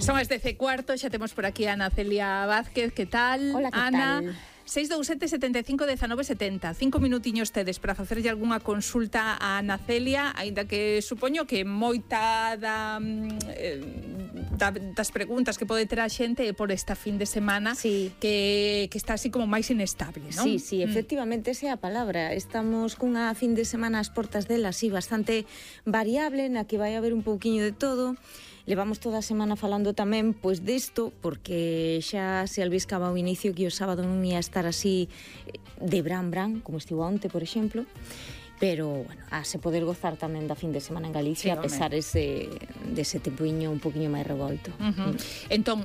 Son as 10:15, xa temos por aquí a Ana Celia Vázquez. Que tal? Hola, que Ana? tal? 627 75 19 70. 5 minutiños tedes para facerlle algunha consulta a Ana Celia, aínda que supoño que moita das preguntas que pode ter a xente é por esta fin de semana, sí, que está así como máis inestable, non? Sí, efectivamente, esa é a palabra. Estamos cunha fin de semana ás portas dela, así, bastante variable, na que vai haber un pouquiño de todo. Levamos toda a semana falando tamén pois disto, porque xa se albiscaba ao inicio que o sábado non ia estar así de bran, como estivo onte, por exemplo. Pero, bueno, se poder gozar tamén da fin de semana en Galicia, sí, a pesar dese tempoiño un poquinho máis revolto. Entón,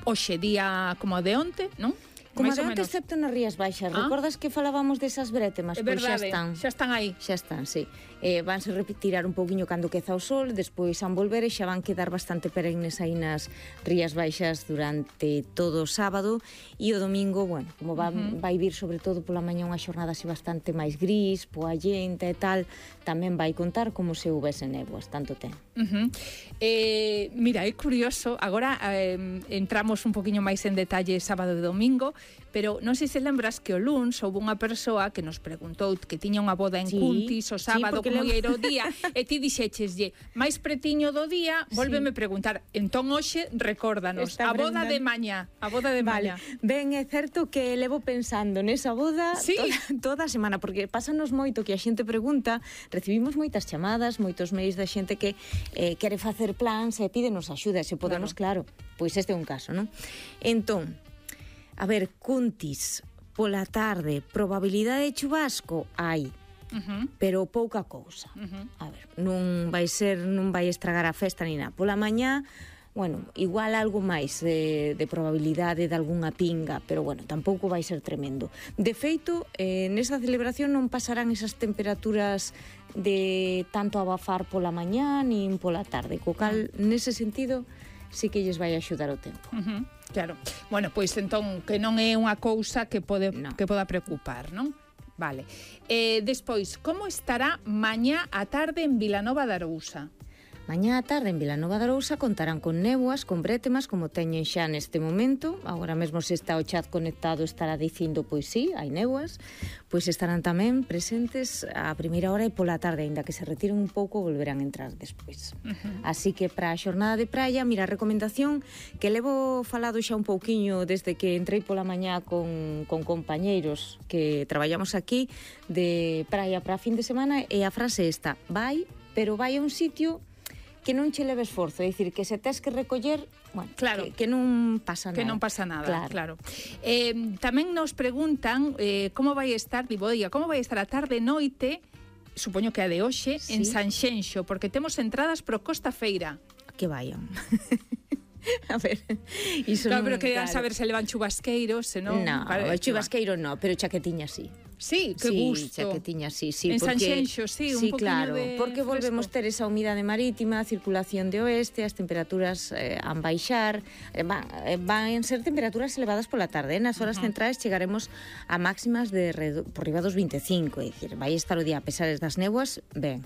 hoxe día como de onte, non? Como de onte, excepto nas Rías Baixas. Recordas que falábamos desas brétemas? Pois xa están. Xa están aí. Xa están, sí. Vanse retirar un pouquiño cando queza o sol, despois van volver e xa van quedar bastante perennes aí nas Rías Baixas durante todo o sábado, e o domingo, bueno, como vai vir sobre todo pola mañá unha xornada así bastante máis gris, poallenta e tal, tamén vai contar como se houvese néboas, tanto ten. Mira, é curioso, agora entramos un poquinho máis en detalle sábado e domingo, pero non sei se lembras que o luns houve unha persoa que nos preguntou que tiña unha boda en Cuntis o sábado, como era o día, e ti dixécheslle, máis pretiño do día, vólveme preguntar. Entón hoxe recórdanos, a boda de mañá, a boda de mañá. Ben, é certo que levo pensando nesa boda toda a semana, porque pásanos moito que a xente pregunta, recibimos moitas chamadas, moitos mails da xente que quere facer plans e pídenos axuda, se podemos, claro, pois este é un caso, non? Entón, a ver, Cuntis, pola tarde, probabilidade de chubasco? Hai, pero pouca cousa. A ver, non vai estragar a festa ni nada. Pola mañá, bueno, igual algo máis de probabilidade de algunha pinga, pero bueno, tampouco vai ser tremendo. De feito, nesa celebración non pasarán esas temperaturas de tanto abafar pola mañá nin pola tarde, co cal, nese sentido, sí que lles vai axudar o tempo. Claro. Bueno, pois entón que non é unha cousa que poda preocupar, non? Vale. Despois, como estará mañá á tarde en Vilanova de Arousa? Mañá á tarde en Vilanova de Arousa contarán con néboas, con brétemas, como teñen xa neste momento. Agora mesmo se está o chat conectado estará dicindo, pois sí, hai néboas. Pois estarán tamén presentes a primeira hora e pola tarde, aínda que se retiren un pouco, volverán a entrar despois. Así que para a xornada de praia, mira, a recomendación que levo falado xa un pouquiño desde que entrei pola mañá con compañeiros que traballamos aquí de praia para fin de semana, e a frase esta: vai, pero vai a un sitio que non che leve esforzo, é dicir, que se tes que recoller, bueno, claro, que non pasa nada. Que non pasa nada, claro. Tamén nos preguntan como vai estar, como vai estar a tarde e noite, supoño que a de hoxe, en Sanxenxo, porque temos entradas pro Costa Feira. Que vayan. A ver, iso claro, pero querían saber se levan chubasqueiros, se non... No, chubasqueiro no, pero chaquetiña sí. Sí, que gusto. Chaquetiña sí, en Sanxenxo, un poquinho claro, de porque volvemos ter esa humidade marítima, circulación de oeste, as temperaturas han baixar, van ser temperaturas elevadas pola tarde, nas horas centrais chegaremos a máximas por riba dos 25, é dicir, vai estar o día a pesar das néboas, ben.